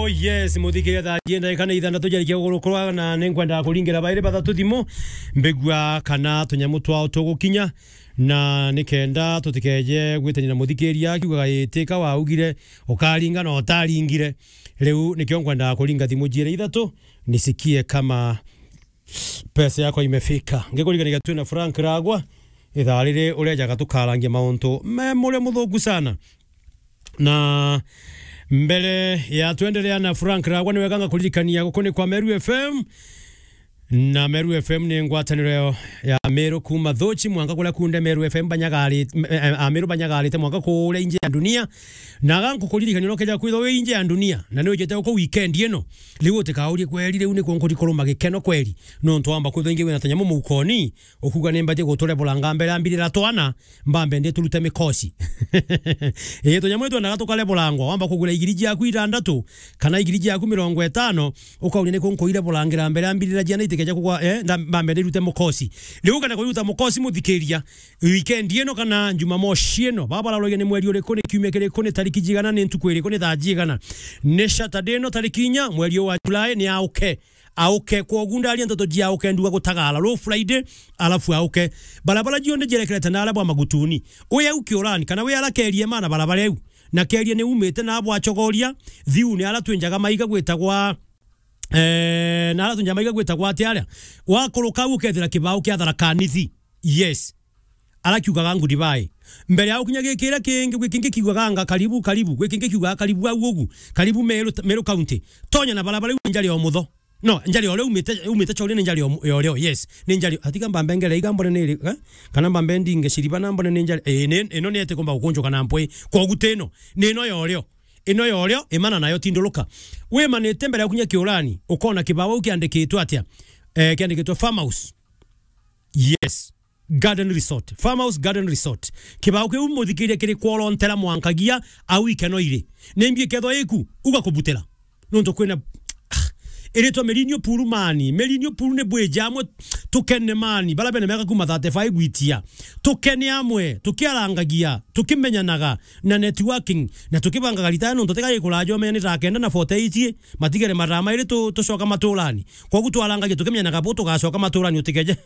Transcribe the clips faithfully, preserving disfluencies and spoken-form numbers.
Oh yes, muthikiria, thaa jenda ikana ithandatu jarikia gukurukura, na ninkwenda kuringira bairi bathatu thimu, mbigua kana tunyamu twao tugukinya, na nikenda tutikeje gwitania na muthikiria akiugaga, "Ii, tika waugire, ukaringa na utaringire." Riu nikio nkwenda kuringa thimu jiere ithatu, nisikie kama pesa yako imefika. Ngikuririkanagia twina Frank Ragwa, ithaa riri urejaga tukarangia mauntu me muria muthuku sana. Na mbere ya twendelea na Frank Ragwa, ni weganga kuririkania guku ni kwa Meru F M. Na Meru F M ni ngwataniro ya, ya Meru kuma Thuchi mwanka kuria kunde Meru F M banyagarite, eh, eh, Ameru banyagarite mwanka kuria inje ya dunia. Na gankukuririkania no keja kwithwa wi inje ya dunia, na ni ujite uko weekend ino. Riu utikaurie, "Kweri, riu nikuo nkuthi kuruma gikeno kweri?" Nontu wamba kwithwa ingi wina tunyamu muukoni, ukuga, "Ni mbatie guturebulanga mbere ya mbirira twana, mbambe nditurute mikosi." Ii, tunyamu itwendaga tukarebulangwa, wamba kugura igiri jiaku ithandatu, kana igiri jiaku mirongo itano, ukauria, "Niku nkuirebulangira mbere ya mbirira jiana itikeja kugwa, eh, nda-, mbambe ndirute mukosi?" Riu ukenda kuiruta mukosi, muthikiria, weekend ino kana Jumamosi ino, baba bararauria ni mweri uriku, ni kiumia kiriku, ni tariki jigana, ni ntuku iriku, ni thaa jigana? Ni Saturday ino, tariki inya, mweri uyu wa July, ni auke. Auke, kwogu ndaria nteto jia auke nduga gutagara, ru Friday, alafu auke. Barabara jionthe jerekerete na aria bwa Magutuni. Wi au Kiurani, kana wi ara kerie mana barabara iu. Na kerie ni umite na bwa Chogoria, thiu ni ara twinjaga maiga gwitagwa, eh, na ara twinjaga maiga gwitagwa ati aria. Wakuruka au ukethira kibao kia Tharaka Nithi. Yes. Arakiugaga Goodbye. Mbere ya gukinya gikira kingi, gwi kingi kiugaga anga, "Karibu, karibu." Gwi kingi kiugaga, "Karibu au ugu." Karibu Meru, Meru County. Tonya na barabara iu njari o mutho. No, njari o rio umite, umite Chogoria ni njari o mu-, ya urio, yes. Ni njari, atiga mbambe ngere iga mbone ni iri, eh? Kana mbambe ndinge ciriba na mbone ni njari, eh, ni, ino ni eti kumba gukunjuka na mpwi. Kwogu ti ino. Ni ino ya urio. Ino ya urio, imana nayo tinduruka. Wimanite mbere ya gukinya Kiurani, ukona kibao kiandikitwe atia? Eh, kiandikitwe Farmhouse. Yes. Garden Resort. Farmhouse Garden Resort. Kibao kiu muthikiria kiri kworontera mwankagia au ikeno iri. Nimbi ikethwa iku, uga kubutira. Nontu kwina, ah, iritwa Mirinio Pool mani. Mirinio Pool ni bwiji amwe tukene mani. Bara bene miaka kuma thirty-five gwitia. Tukene amwe, tukiarangagia, tukimenyanaga na networking, na tukibangaga ritaya nontu tiga ikuraja umenya ni thaa kenda na forty-eight, matigere mathaa mairi tu-, tucoka maturani. Kwogu twarangagia tukimenyanaga bu tugacoka maturani utikeje.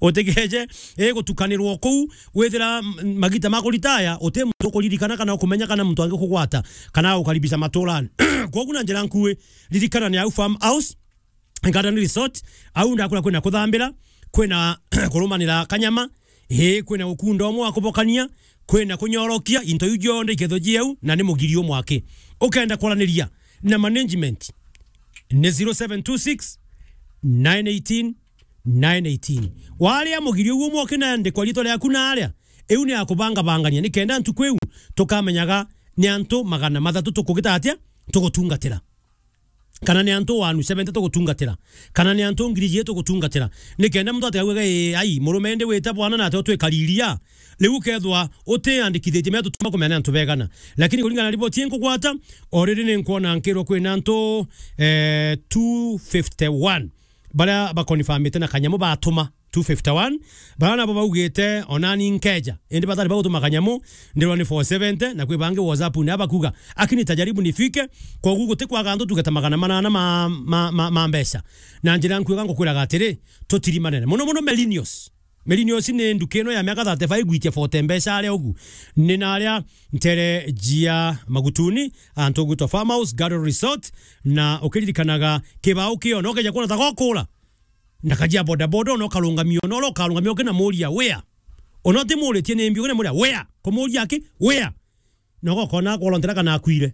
Utikeje, eh, gutukanirwo kuu, withira m-, magita ma kuritaya, uti muntu ukuririkana kana ukumenya kana muntu angi kugwata, kana ukaribisa maturani. Kwogu na njira nkui, ririkana ni au Farmhouse Garden Resort, au ndakura kwina kuthambira, kwina kurumanira kanyama, ii, kwina gukunda umwe wa kubokania, kwina kunyorokia, into iu jonthe ikethwa jieu, na ni mugiri umwe aki. Ukenda kwaraniria na management, ni zero seven two six, nine eighteen, nine eighteen. Waria mugiri uguo mwoke na ndikwa ritwa riaku na aria, iu ni ya kubangabangania, nikenda ntuku iu tukamenyaga ni antu magana mathatu tukugita atia, tugutungatira. Kana ni antu wanu seventy tugutungatira. Kana ni antu ngiri ijiri tugutungatira. Nikenda muntu atigaugaga, "Ii, ai, murume indi wita bwana na ati utwikariria." Riu ukethwa utiandikithitie mea tutuma kumenya ni antu begana. Lakini kuringana na riboti ii nkugwata, already ni nkwona nkirwa kwina antu, eh, two fifty-one baria bakonfamite na kanyamu batuma two fifty-one. Baria nabo baugite, "Onani nkeja." Indi batari bagutuma kanyamu, ndirwa ni four seventy, na kwi bangi WhatsApp ni abakuga, "Akini tajaribu nifike." Kwogu gutikwaga antu tugeta magana manana ma, ma, ma, ma mbeca. Na njira nkuiga ngukwiraga atiri, tutirimanene. Muno muno Melinios. Millennials ni nduka ino ya miaka thirty-five gwitia forty mbeca aria ugu. Ni na aria ntere jia Magutuni, antu gwitwa Farmhouse Garden Resort, na ukiririkanaga kibao kio, no keja kuona ta gokura. Na kajia boda boda, no karungamio, no, no karungamio kina muria, "Where?" Ono ti muritie ni mbi, kina muria, "Where?" Kumuria aki, "Where?" Nogo kona kworontera kana akuire.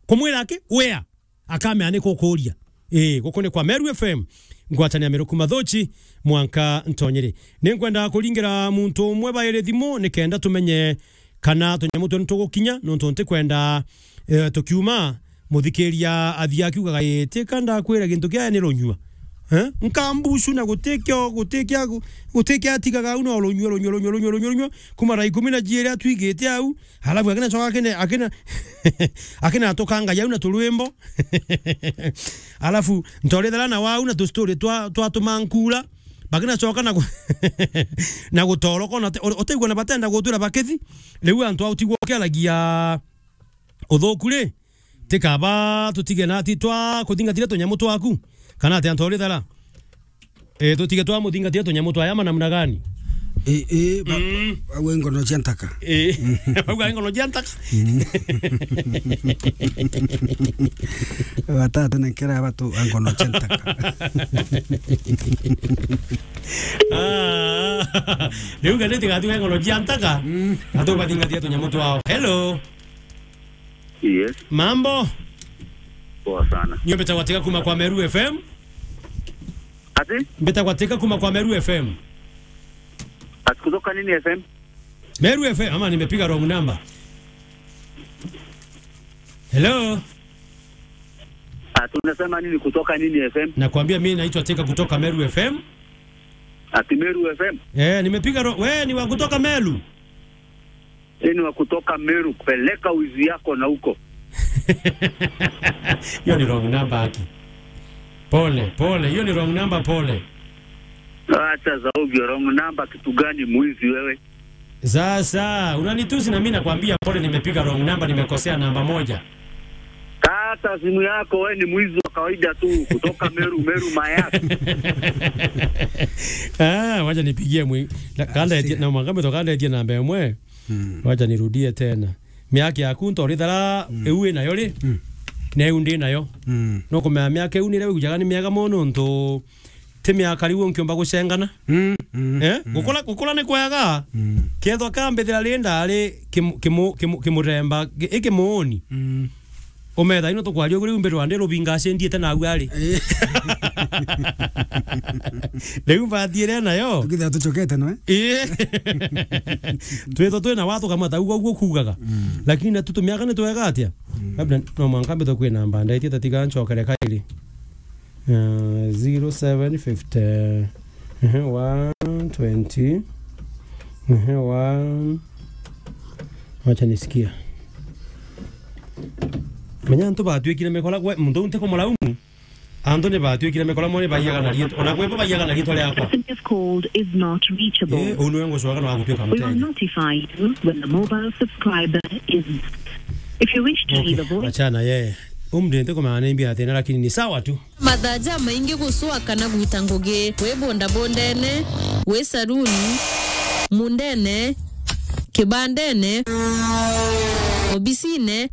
Kumwira aki, "Where?" Akamea ni kukuria. Ii, guku ni kwa Meru F M. Ngwatania Meru kuma Thuchi, mwanka Ntonyeri. Ni nkwenda kuringira muntu umwe bairi thimu, nikenda tumenye kana tunyamu twe nitugukinya, nontu ntikwenda, eh, tukiuma, muthikiria athia akiugaga, "Ii, tika ndakwira gintu kia ni runyua." Eh? Nkambucu na gutikio, gutikia, gutikia atigaga au no runyua, runyua, runyua, runyua, runyua, runyua. Kuma thaa ikumi na jiiri atwigite au, alafu akina coka akina, akina, akina atukangagia au na turwimbo. Alafu ntorithera na wau na tustori twa, twa tumankura. Bakina coka na gu-, na gutoroka, na te-, ute-, uteigua na batenda gutwira bakithi. Riu antu au tigwo kiaragia uthuku ri, Tikaba tutige na ati twa kuthingatira tunyamu twaku, kana ati antu uri thara? Eh, tutige twa muthingatira tunyamu twa yama namna gani? Eh, eh, ba-, mm, ba-, we ngono cia ntaka. Eh, bauga ngono cia ntaka. Mm. Batatu na nkera batu ngono cia ntaka. Ah, riu ngari tigatuga ngono cia ntaka. Mm. Atu bathingatia tunyamu twao. Hello. Yes. Mambo? Poa sana. Nyo mbeta gwateka kuma kwa Meru F M. Ati? Mbeta gwateka kuma kwa Meru F M. Ati kutoka nini F M? Meru F M, ama nimepiga wrong number. Hello? Ati unasema nini kutoka nini F M? Nakwambia mimi naitwa Teka kutoka Meru F M. Ati Meru F M? Eh, nimepiga ro-, we ni wa kutoka Meru? Yeye ni wa kutoka Meru, peleka wizi yako na huko. Hiyo ni wrong number, aki. Pole, pole, hiyo ni wrong number, pole. Acha za ovyo, wrong number kitu gani, mwizi wewe? Sasa, unanitusi na mimi nakwambia pole, nimepiga wrong number, nimekosea namba moja. Kata simu yako, wewe ni mwizi wa kawaida tu, kutoka Meru, Meru Mayas. Ah, wacha nipigie mwi-, na, kanda etie, na mwangambe to kanda etie namba imwe. Mm. Wacha nirudie tena. Miaka yaku ntorithara, mm, iu inayo ri? Mm. Na iu ndi nayo. Mm. No kumenya miaka iu nire wigujaga ni miega mono ntu ti miaka riu nkiumba gucengana. Mm, mm, eh? Mm. Gukura, gukura ni kwega. Mm. Kethwa kambithira ri ndari kimu-, kimu-, kimu-, kimuremba, gi-, i kimuuni. Mm. Umetha ino tukwaria uguri umbe rwande rubinga acendiete na au ari. Eh. Riu mbathiire nayo. Tukithira tucokete nwe. Eh. Twitho twina watu kamata uguo, uguo kuugaga. Mm. Lakini na tutumiaga ni twega atia? Mm. Labda no mwanka mbitho kwina mbanda, iti tatiga ncokere kairi. Uh, zero seven fifty, ehe, one twenty, ehe, one. Wacha nisikia. Menya antu batwikire mikora, we, muntu unte kumulaumu. Antu ni batwikire mikora, mo ni baiyaga na riitwa. Ona kwe bo baiyaga na riitwa riakwa. Person you've called is not reachable. Eh, unu wengo swaga no agutwika muteni. We will notify you when the mobile subscriber is. If you wish to leave a voice. Achana ye. Umdente kumana ni mbia tena, lakini ni sawa tu. Mathaa jamaingi gucwa kana gwita ngugi, wi bondabondene, wi saruni, mundene, kibandene, obisine,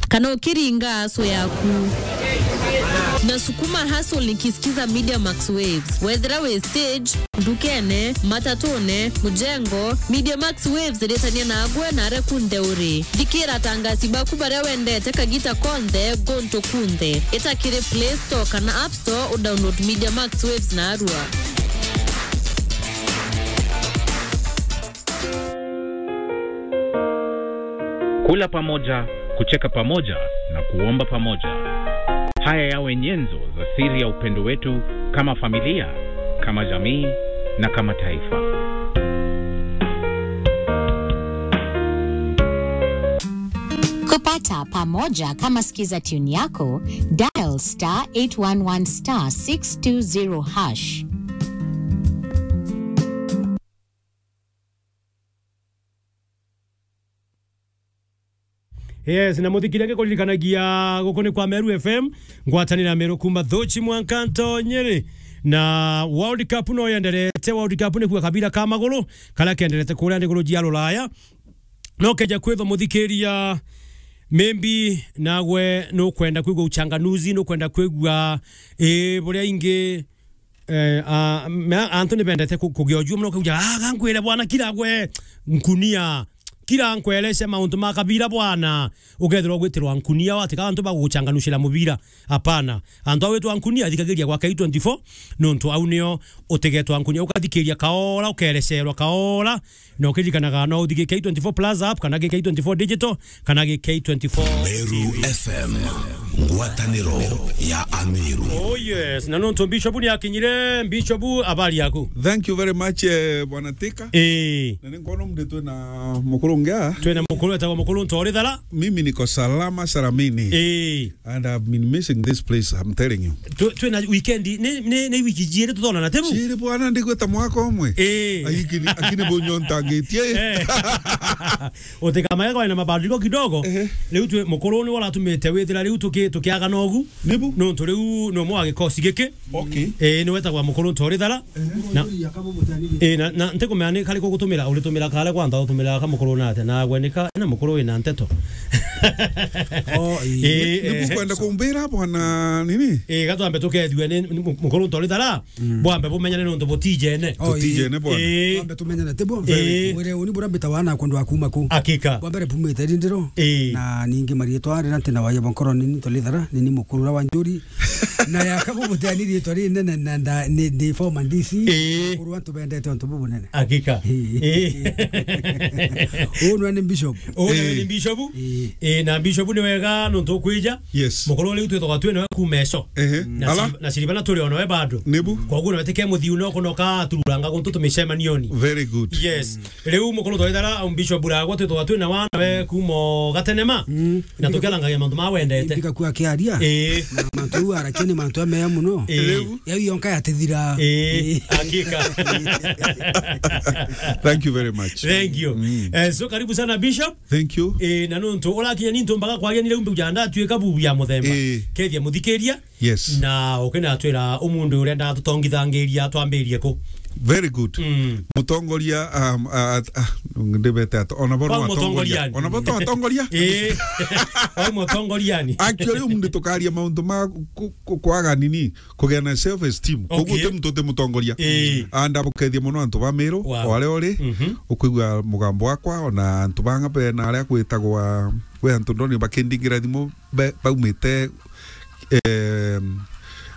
kana ukiringa aso yaku. Nasukuma hustle nikisikiza Media Max Waves. Wethira wi stage, ndukene, matatune, mujengo, Media Max Waves iritania nagwe na aria kunthe uri. Thikira atangasi baku baria wendete kagita konthe, gontu kunthe. Ita kiri Play Store kana App Store, u download Media Max Waves narua. Kula pamoja, kucheka pamoja na kuomba pamoja. Haya yawe nyenzo za siri ya upendo wetu kama familia, kama jamii na kama taifa. Kupata pamoja kama skiza tune yako, dial star eight one one star six two zero hash. Yes, na muthikiria ngikuririkanagia guku ni kwa Meru F M, ngwatanira Meru kuma Thuchi mwanka Ntonyeri. Na World Cup no yenderete, World Cup ni kuga kabira ka maguru, karia kenderete kuria ndiguru jia Ruraya. No keja kwithwa muthikiria, maybe nagwe nukwenda kwigua uchanganuzi, nukwenda kwigua, eh, buria ingi, eh, a, me-, antu ni bendete ku-, kugia ujua muno, kuja, "Ah, gankwire bwana, kira gwe nkunia, kira nkwereshe mauntu ma kabira bwana." Ukethirwa ugwitirwa nkunia, watika antu baguguchanganushira mubira. Hapana. Antu a gwitwa nkunia, thikagiria gwa K twenty-four, nontu au nio utigetwa nkunia. Ukathikiria kaora, ukerecerwa kaora, na ukiririkanaga no uthikie K twenty-four Plus app, kana gi K twenty-four Digital, kana gi K twenty-four Meru F M. Ngwataniro ya Ameru. Oh yes, na nontu Bishop ni akinyire, Bishop, habari yaku? Thank you very much, eh, Bwana Thika. Eh. Na ni nkwona mnditwe na mukuru ngia. Twina mukuru etagwa Mukuru Ntori Thara. Mimi niko salama salamini. Eh. And I've been missing this place, I'm telling you. Tu-, twina weekend, ni, ni, ni wiki jiiri tutonana, tibu? Jiiri bwana, ndigwita mwaka umwe. Eh. Akini, akini bunyo ntangitie. Eh. Utikamage kwa ina mabadiliko kidogo. Ehe. Riu twi mukuru ni waratumite withira riu tuki-, tukiagana ugu. Nibu? Nontu riu ni umwe wa gikosi giki. Okay. Eh, ni wetagwa Mukuru Ntori Thara. Ehe. Na, eh, na, na ntikumenya ni kari kugutumira, uritumira kare kwantha, utumira ka mukuru na atia, na gwe ni ka, ina mukuru wina nteto. Oh, ii. Eh, nibu eh, kwenda kumbira bwana nini? Eh, gatwambe tukethue ni, ni mu-, Mukuru Ntori Thara. Mm. Bwambe bumenyane nontu butijene. Oh, ii. Tutijene bwana. Ii. Bwambe tumenyane, ti bwambe. Ii. Mwire uni bura mbita wana kwendwa kuma ku. Hakika. Bwambe mbere bumite rindiro. Ii. Na ningi marietwa rira ntina wayo bonkoro nini Ntori Thara, nini mukuru wa Njuri. Na yaka bubuteni rietwa rinene na nda-, ni, ni former D C. Ii. Mukuru antu bendete ontu bubunene. Hakika. Ii. Ii. Uu nwe ni Bishop. Uu nwe ni Bishop. Ii. Ii, na Bishop ni wega nontu ukwija. Yes. Mukuru riu twithaga twi nawe kuma eso. Ehe. Na ala? Siri-, na Siribana turi o nawe bado. Nibu? Koguo nawe tike muthiu no kunoka atururanga guntu tumicemanioni. Very good. Yes. Riu Mukuru Ntori Thara, um, Bishop Buragwa twithaga twi nawe nawe kuma o gatenema. Mm. Na tukiarangagia mantu ma wendete. Mbika ku akiaria. Ii. Na mantu au arakia ni mantu ameya muno. Ii. Riu? Yau yonka yatithira. Ii. Ii. Hakika. Thank you very much. Thank you. Mm. Eh, so karibu sana Bishop. Thank you. Eh, na nontu urakinya ni ntumbaga kwaria ni riu mbuja ndatuika bubu ya muthemba. Eh. Kethia muthikiria. Yes. Na ukinatwira umundu uria ndatutongithangiria twambirie ku. Very good. Mm. Mutongoria, um, uh, uh, ndibete ata. Ona bo. Bau atongoria. Mutongoriani. Ona bo atongoria. Eh. Bau mutongoriani. Actually, umundu tukaria maundu ma ku-, ku-, kwaga nini. Kugia na self esteem. Okay. Koguo ti muntu uti mutongoria. Ii. Aa, ndabukethia muno antu ba Meru, wow, o aria uri, mhm, ukwigua mugambo wakwa, ona antu banga be na aria gwitagwa, we antu ndoni bakindingira thimu, be-, baumite, em,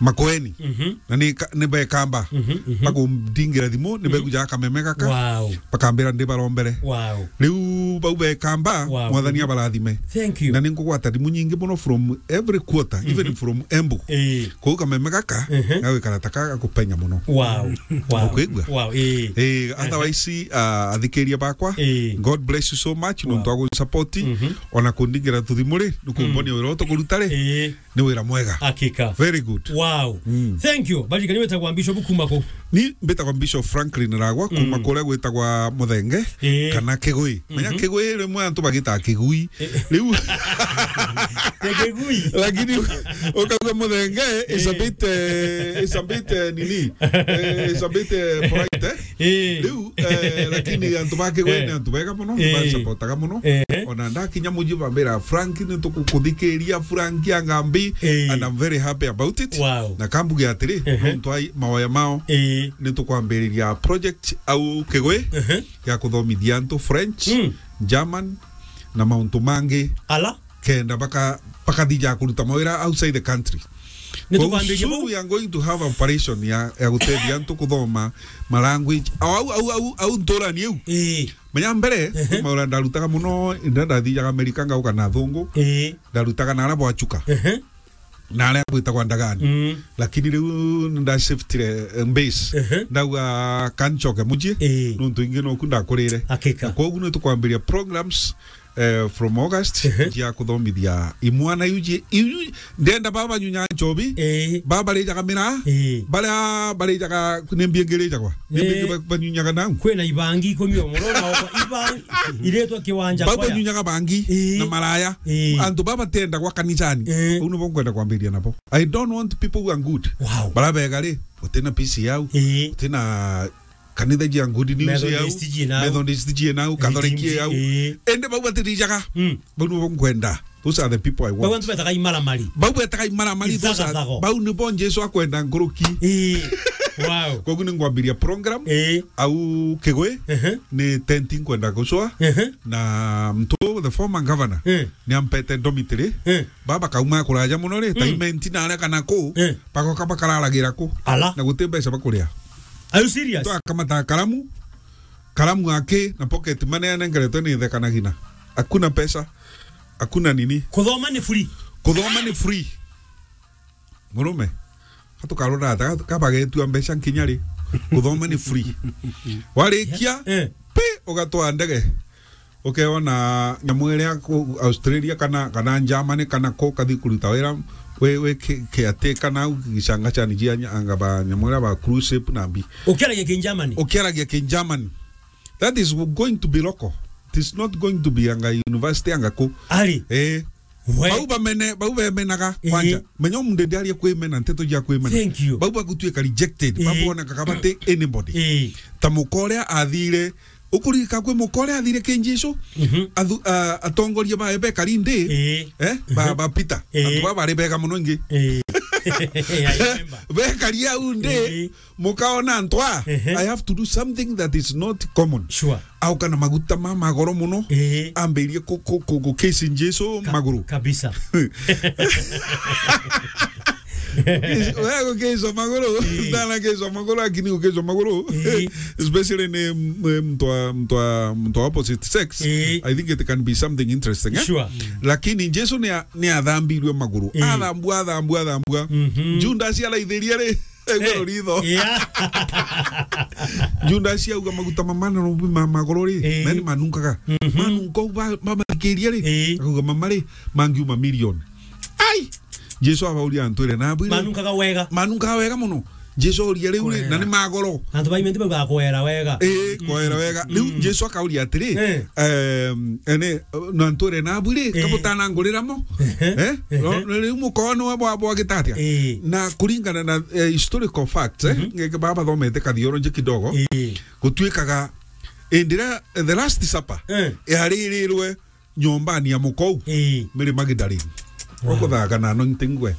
Makueni. Mhm. Na ni ka-, ni bekamba. Mhm, mhm. Bakundingira thimu, ni, mhm, begujaga kameme gaka. Wow. Bakambira ndi barombere. Wow. Riu bau bekamba, wow, mwathani, mhm, abarathime. Thank you. Na ni nkugwata thimu nyingi muno from every quarter, mhm, even from Embu. Ii. Kou kameme gaka, ehe, gagwikara ta ka gakupenya muno. Wow. Wow. Ukwigua? Wow, ii. Ii, ehe, otherwise, ah, athikiria bakwa, ii, God bless you so much, wow, nontu wa gusupport, mhm, ona kundingira tuthimu ri, nukumbonia, mm, wira utukuruta ri, ii, ni wira mwega. Hakika. Very good. Wow. Mm. Thank you. Baririkania witagwa Bishop kuma ku? Ni mbitagwa Bishop Franklin Ragwa, kuma, mm, kuria gwitagwa Muthenge, ii, kana Kigui. Menya, mhm, Kigui rimwe antu bagitaga Kigui. Eh. Riu. Te Kigui. Lakini ukauga Muthenge, eh, is a bit, eh, is a bit, eh, nini? Eh, is a bit, eh, polite, eh? Eh. Riu, eh, lakini antu ba Kigui, eh, ni antu bega muno, eh, bansapotaga muno. Eh. Ona ndakinya muji bambira, "Frank, ni tukukuthikiria, Frank Angambi," eh, and I'm very happy about it. Wow. Na kambuge atiri, eh, nontu ai maoya mao, eh, ni tukwambiriria project au Kigui, eh, ya kuthomithia antu French, mm, German, na mauntu mangi. Ala? Kenda baka-, bakathija kuruta mawira outside the country. Ni tukwambiria bau? Soon we are going to have operation ya, ya gutethia antu kuthoma ma language. Au, au, au, au, au nturani iu. Ii. Menya mbere, ehe, maura ndarutaga muno, inda ndathijaga Amerika ngauka na athungu. Ii. Ndarutaga na aria bwachuka. Ehe. Na aria gwitagwa Ndagani. Mm. Lakini riu ndashiftire, eh, base. Ehe. Ndauga kanchoke muji. Ii. Nuntu ingi noku ndakurire. Hakika. Na koguo ni tukwambiria programs, eh, from August, ehe, cia kuthomithia imwana iu ji-, iu, ndenda baba banyunyaga nchobi, ii, baba barijaga miraa, ii, baria barijaga ni mbia ingi irijagwa. Ni mbia ingi, ii, ba-, banyunyaga nau. Kwina ibangi ikumi o muno na oko ibangi iretwa kiwanja. Baba kwaya. Banyunyaga bangi, ii, na maraya. Ii. Antu baba batendagwa kanisani. Ii. Bau nibo nkwenda kwambiria nabo. I don't want people who are good. Wow. Bara bega ri, utina P C au, ii, utina kanitha jia Good News yau, Methodist jie nau. Methodist jie nau, Catholic Redeemed, yau. Ii. Ende bau batirijaga. Mm. Bau nibo nkwenda. Those are the people I want. Bau antu betaga imaramari. Bau betaga imaramari, those are, ithagathago. Bau nibo Jesu akwenda nkuruki. Ii. Wow. Koguo ni ngwambiria program, ii, au Kigui, ehe, ni tent nkwenda gucwa, ehe, na mtu, the former governor, ii, ni ampete dormitory. Ii. Baba kauma kuraja muno ri, mm, ta Imenti na aria kana ku, ii, bagoka bakararagira ku. Ala. Na guti mbeca bakuria. Are you serious? Twakamata karamu, karamu aki na pocket money anengeretwe ni ithe kana gina. Hakuna pesa, hakuna nini. Kuthoma ni free. Kuthoma ni free. Murume, ka tukarora ata, ka, ka bagetua mbeca nkinya ri? Kuthoma ni free. Warikia, Eh. pi, ugatwaa ndege. Ukeona nyamu iria ku Australia kana, kana Germany kana ku kathi kuruta wira wi, wi ki, ki ati kana u gicanga cha niji anga ba nyamu iria ba cruise ship na mbi. Ukiaragia ki Germany? Ukiaragia ki Germany. That is going to be local. It is not going to be anga university anga ku. Ari. Eh. We. Bau bamene, bau bemenaga Ii. kwanja. Menya umundu ndiaria kwimena, nteto cia kwimena. Thank you. Bau bagutuika rejected. Ii. Bau bonekaga bati anybody. Ii. Ta muka uria athire, ukurika kwi muka uria athire ki Jesu. Mhm. Athu-, a-, atongoria bae bekari ndi. Ii. Eh? Ba, Mhm. ba Peter. Ii. Antu baba bari bega muno ingi. Ii. I remember. Bekari au ndi. Ii. Mukaona ntwa, Ehe. I have to do something that is not common. Sure. Auka na maguta ma magoro muno, Ehe. ambirie ku, ku, ku, ku kiss Jesu Ka-, maguru. Kabisa. Kiss, wewe ku kiss maguru, Ehe. ndana kiss maguru, lakini ku kiss maguru. Ehe. Especially ni m-, mtu wa, mtu wa, mtu wa opposite sex. Ehe. I think it can be something interesting, eh? Sure. Lakini Jesu ni a-, ni athambirwe maguru. Ehe. Athambua, athambua, athambua. Mhm. Judas araithirie ri? Iguru ritho. Yeah. Judas auga maguta mamana no ma magoro ri, Eh. meni manunkaga. Mhm. Manunka u ba, bamathikiria ri, Eh. akauga mama ri, mangiuma million. Ai! Jesu abauria antu ire na abwire. Manunkaga wega. Manunkaga wega muno. Jesu auria riu ri, Kwera. na ni magoro. Antu baimenti bauga kwera wega. Eh, kwera wega. Riu Mm. Jesu akauria atiri, Eh. em, ene, na antu ire na abwire, Eh. kabutana ngurira mo. Ehe, Eh? ehe. No, no, riu mukono wa bwa, bwa gitatia. Eh. Na kuringana na, eh, historical facts, eh, Mhm. ngeke baba thomete ka theology kidogo. Eh. Gutuikaga, indira, eh, the last supper, Eh. yaririrwe nyombani ya mukou, Eh. Mary Magdalene. Wow. Ukuthaga na anointing we.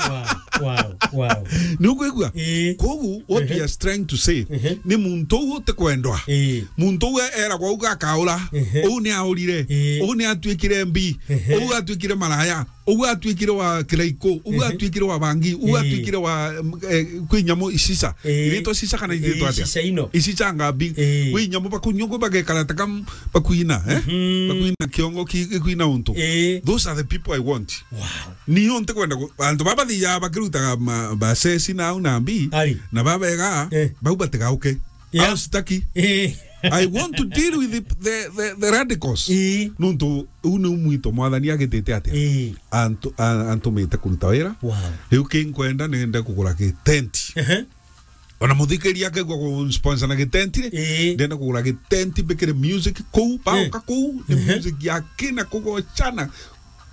Wow, wow, wow. Ni ukwigua? Eh. Kogu, what Ehe. we are trying to say, Ehe. ni muntu uu utikwendwa. Eh. Muntu uu eragwa uga akaura. Ehe. Uu ni aurire. Eh. Uu ni atuikire mbi. Ehe. Uu atuikire maraya. Ugu atuikire wa kiraiko, ugu Ehe. atuikire wa bangi, ugu Ii. atuikire wa, mm, eh, kwi nyamu icica. Ii. Iritwa cica kana Ii, iritwa atia? Cica ino. Icica ngambi. Ii. Kwi nyamu bakunyua, kwi bagekara ta kam-, bakuina, eh? Mhm. Bakuina kiongo ki-, ki-, kuina untu. Ii. Those are the people I want. Wow. Ni yo ntikwenda ku-, antu baba thiaga bakirutaga ma-, basesi na au na mbi, Ari. na babega, Eh. bau batigauke. Yeah. Au sitaki. Eh. I want to deal with the, the, the, the radicals. Eh. Nuntu uu niu mwito mwathani agitite atia? Eh. Antu-, a-, antumite kuruta wira. Wow. Riu ki nkwenda nende kugura gi tent. Ehe. Ona muthikiria akegwa ku sponsor na gi tent ri, Eh. ndenda kugura gi tent mbikire music kuu, baoka Eh. kuu, ni Ehe. music ya kina kugochana,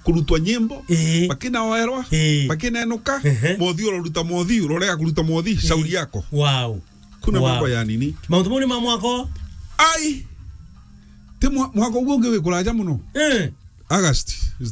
kurutwa nyimbo, Eh. bakina oerwa, Eh. bakina enuka, Ehe. mothi uroruta mothi, urorega kuruta mothi, Eh. shauri yako. Wow. Kuna Wow. mambo ya nini? Mauntu mau ni ma mwaka o? Ai! Ti mwa-, mwaka uguo ungi wi kuraja muno. Eh. August is the